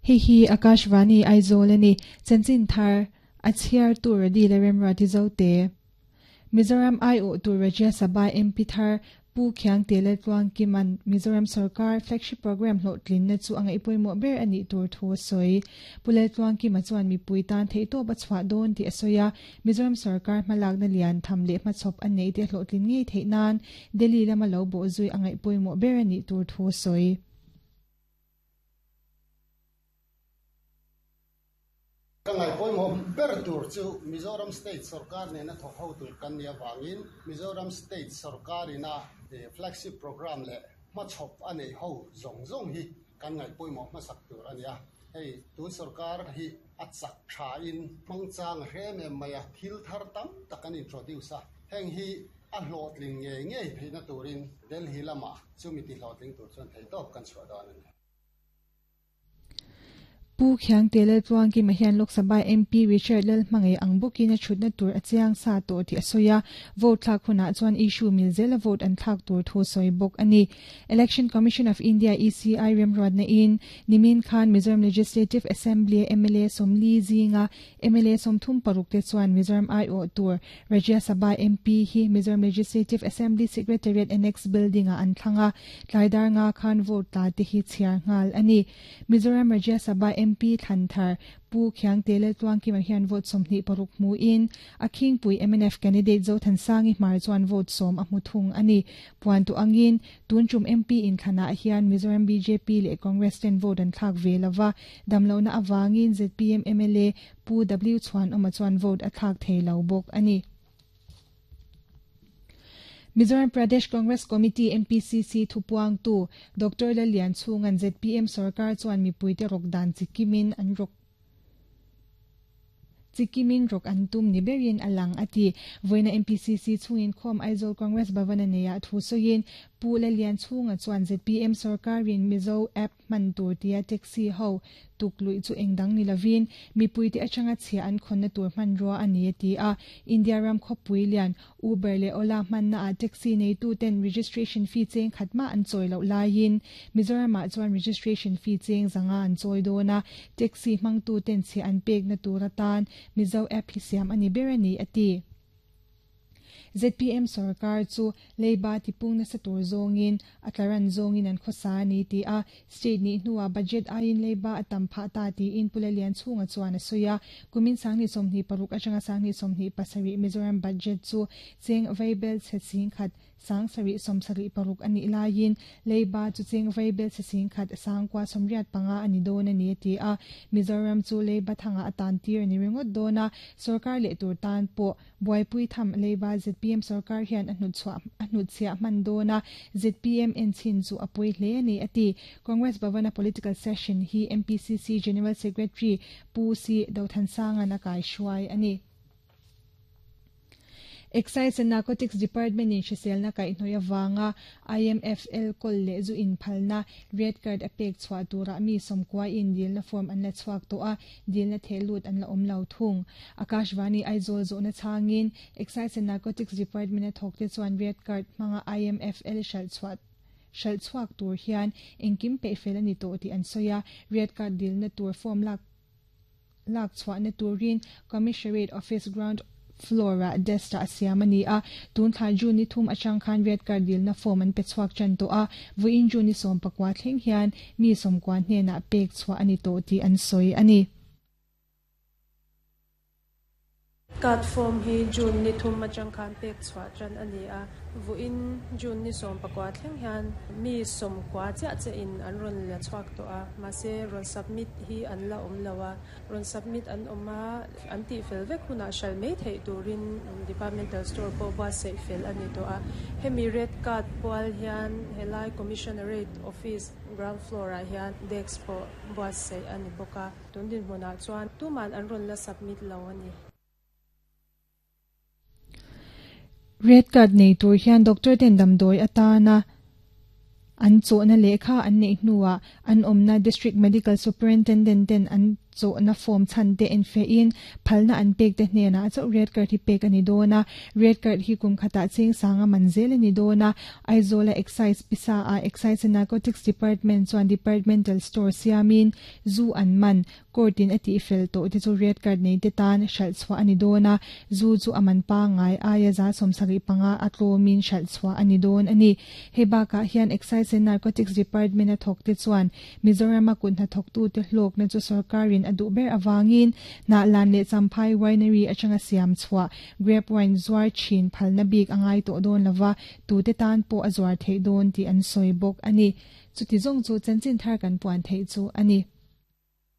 Hei hi Akashvani Aizawl a ni. Chanchin thar a chhiartu Radi leh Remruati Zote. Mizoram aiawhtu Rajya Sabha MP thar Pu Khiangte Laltluangkima'n Mizoram sorkar flagship programme hlawhtlinna chu a ngaihpawimawh ber a nih tur thu a sawi. Pu Laltluangkima chuan mipui tan theihtawp a chhuah dawn tih a sawi a, Mizoram sorkar hmalakna lian tham leh hmachhawp a neih te hlawhtlin ngei theih nan Delhi lama lo bawhzui a ngaihpawimawh ber a nih tur thu a sawi. Ka ngaihpawimawh ber tur chu Mizoram State sorkar nena thawk ho tur kan nih avangin Mizoram State sorkarina flagship programme leh hmachhawp a neih ho zawng zawng hi kan ngaihpawimawh hmasak tur a ni a. Hei tun sorkar hi a chak thain hmangchang a hre em em mai a, thil thar tam tak an introduce a, heng hi a hlawhtling ngei ngei theihna turin Delhi lamah chumi tihlawhtling tur chuan theihtawp kan chhuah dawn a ni. Pu Khiangte Laltluangkima hian Lok Sabha MP Richard Lalhmangaih ang bawkin a thutna tur a chiang sa tawh tih a sawi a, vote thlak hunah chuan issue mil zela vote an thlak tur thu a sawi bawk a ni. Election Commission of India, ECI, remruatna in nimin khan Mizoram Legislative Assembly a mla 40 zinga mla 36 te chuan Mizoram aiawh tur Rajya Sabha MP hi Mizoram Legislative Assembly Secretariat Annex Building-ah an thlang a, tlai dar nga khan vote tla te hi chhiar nghal a ni. Mizoram Rajya Sabha MP thlan thar Pu Khiangte Laltluangkima hian vote 26 hmuin a khingpui mnf candidate Zothansangi Hmar chuan vote 10 a hmu thung a ni. Puan tu angin tun tum MP inthlanah hian Mizoram bjp leh Congress ten vote an thlak ve lova, damlohna avangin zpm mla Pu W Chhuanawma chuan vote a thlak thei lo bawk a ni. Mizoram Pradesh Congress Committee, MPCC, thupuangtu Doctor Lallianchhunga'n zpm sorkar chuan mipuite rawk dan chikimin an rawk chikimin rawk an tum ni berin a lang a ti. Vawiina MPCC chhungin khawm Aizawl Congress Bhavan a neiah thu sawiin Pu Lallianchhunga chuan zpm sorkarin Mizo App hman tur tia taxi ho tuk luih chu eng dang ni lovin mipuite atanga chhia an khawnna tur hmanrua a ni a ti a. India ram khawpui lian Uber leh Ola hmanna ah taxi neitu ten registration fee cheng khat mah an chawi loh laiin Mizoram ah chuan registration fee cheng zanga an chawi dawn a, taxi hmangtu ten chhia an pekna tur atan Mizo app hi siam a ni ber a ni a ti. Zpm sorkar chu leiba tipung nasa tur zawngin a tlaran zawngin an khawsa a ni ti a, state nih hnuah budget aiin leiba a tam phah ta tiin Pu Lalianchhunga chuan a sawi a. Kumin 2026 atanga 2027 Mizoram budget chu cheng vaibel chhe 10,000 776 a nih laiin leiba chu cheng vaibel chhe 10,985 a ni dawn a ni a ti a. Mizoram chu leiba thangah a tan tir a ni ringawt dawn a, sorkar leh tur tan pawh Buaipui tham leiba zpm sorkar hian a hnutchhuah a hnutchhiah hman dawn a, zpm en chhin chu a pawi hle a ni a ti. Congress Bhavan-a political session hi MPCC General Secretary Pu Si Dothansanga'n a kaihruai a ni. Excise and Narcotics Department-in hriselna kaihhnawih avanga IMFL kawl leh zu inphalna red card a pek chhuah turah mi 90 in dilna form an la chhuak tawh a, dilna theh lut an la awm lo thung. Akashvani Aizawl zawhna chhangin Excise and Narcotics Department a thawkte chuan red card hmanga IMFL hralh chhuah hralh chhuak tur hian engkim peih fel a ni tawh tih an sawi a, red card dilna tur form lak lak chhuahna turin Commissionerate Office ground floor-ah desk ah siam a ni a, tun thla June ni thum atang khan red card dilna form an pe chhuak tan tawh a, vawiin June ni 19 thleng hian mi 90 hnenah pek chhuah a ni tawh tih an sawi a ni. Card form hi June ni thum atang khan pek chhuah tan a ni a, vawiin June ni 19 thleng hian mi 90 chiah che in an rawn la chhuak tawh a, mahse rawn submit hi an la awm lo a, rawn submit an awm a, an tih fel vek hunah hral mai theih turin departmental store pawh buatsaih fel a ni tawh a. Hemi red card pual hian helai Commissionerate office ground floor ah hian desk pawh buatsaih a ni bawk a, tun dinhmunah chuan tuman an rawn la submit lo a ni. Red card nei tur hian doctor ten damdawi atana an chawhna lehkha an neih hnuah an awmna District Medical Superintendent ten an. Zawhna form chhan te enfiahin phalna an pek te hnenah chauh red card hi pek a ni dawn a, red card hi kum khatah cheng sanga man zel a ni dawn a. Aizawla Excise pisa ah Excise and Narcotics Department chuan Departmental Store siamin zu an man court in a tihfel tawh te chu red card nei te tan hralh chhuah a ni dawn a, zu chu a man pangngai aia 75 a tlawmin hralh chhuah a ni dawn a ni. Hei bakah hian Excise and Narcotics Department a thawk te chuan Mizorama kut hnathawktute hlawkna chu sorkarin a duh ber avangin Hnahlan leh Champhai Winery atanga siam chhuah grape wine zuar thin phalna bik a ngai tawh dawn lova, tute tan pawh a zuar theih dawn tih an sawi bawk a ni. Chuti zawng chu chanchin thar kan puan theih chu a ni.